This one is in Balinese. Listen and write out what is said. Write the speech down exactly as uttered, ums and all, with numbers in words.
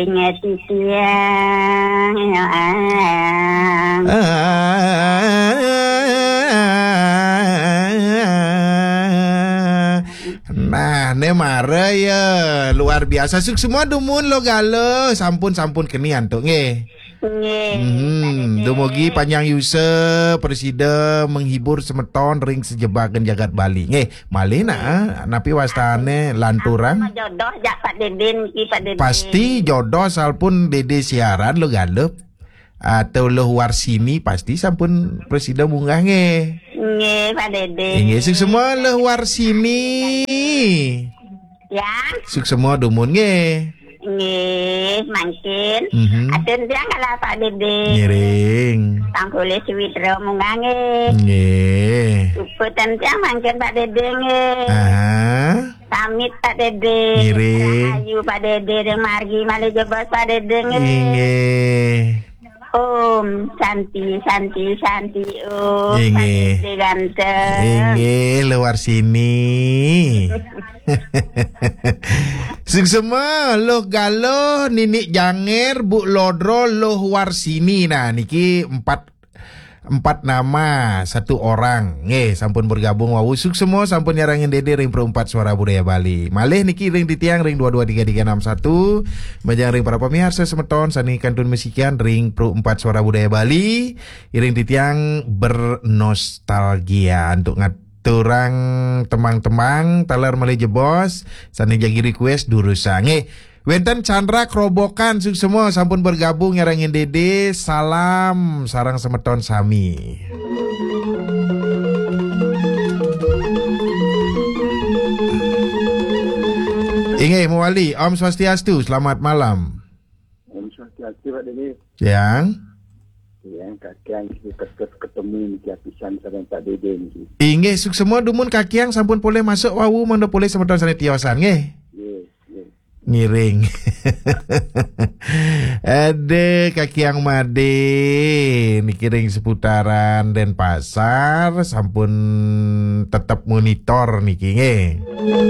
Ingat titiang, ya, ang. Ah. Nah, ne mara ya, luar biasa. Suksma dumun Luh Galuh. Sampun, sampun keni antuk nggih. Nggih, hmm, Pak Dede. Dumugi panjang yusa, prasida menghibur semeton ring sajebakan jagat Bali. Nggih, malih nah, napi wastane lanturang? Jodoh jak Pak Dede niki, Pak Dede. Pasti jodoh, salpun Dede siaran Luh Galuh atau Luh Warsini pasti sampun prasida munggah nggih. Nggih, Pak Dede. Inggih, suksma Luh Warsini. Ya. Suksma dumun nggih. Nggih, mangkin. Mhm. Atun tiang kala Pak Dede. Ngiring. Tang kulis Witra munggah nggih. Nggih. Suputan tiang mangkin Pak Dede nggih. Aha. Pamit Pak Dede. Ngiring. Rahayu Pak Dede, ring margi malih jebos Pak Dede nggih. Inggih. Om Santi, Santi, Santi, Om. Inggih. Santi ganteng. Inggih, Luh Warsini. Suksma, Luh Galuh, Nini Janger, Bu Lodro, Luh Warsini. Nah, niki empat, empat nama, satu orang. Nggih, sampun bergabung wau. Suksma, sampun nyarengin Dede ring Pro empat Suara Budaya Bali. Malih niki ring titiang ring dua dua tiga tiga enam satu. Majeng ring para pamiarsa semeton sane kantun masikian ring Pro empat Suara Budaya Bali. Iring titiang bernostalgia untuk ngaturang tembang-tembang taler malih jebos sane jagi request durusang. Eh, wenten Chandra Krobokan, suksma sampun bergabung nyarengin Dede. Salam sareng semeton sami. Inggih, mawali. Om Swastiastu, selamat malam. Om Swastiastu, Pak Dede. Yang? Yang kakiang kita ketemu niki apisan sareng Pak Dede niki. Inggih, suksma dumun kakiang sampun polih masuk wau mangda polih semeton sane tiosan nggih. Nggih, nggih. Ngiring. Ada kakiang Made niki ring seputaran Denpasar sampun tetep monitor niki nggih.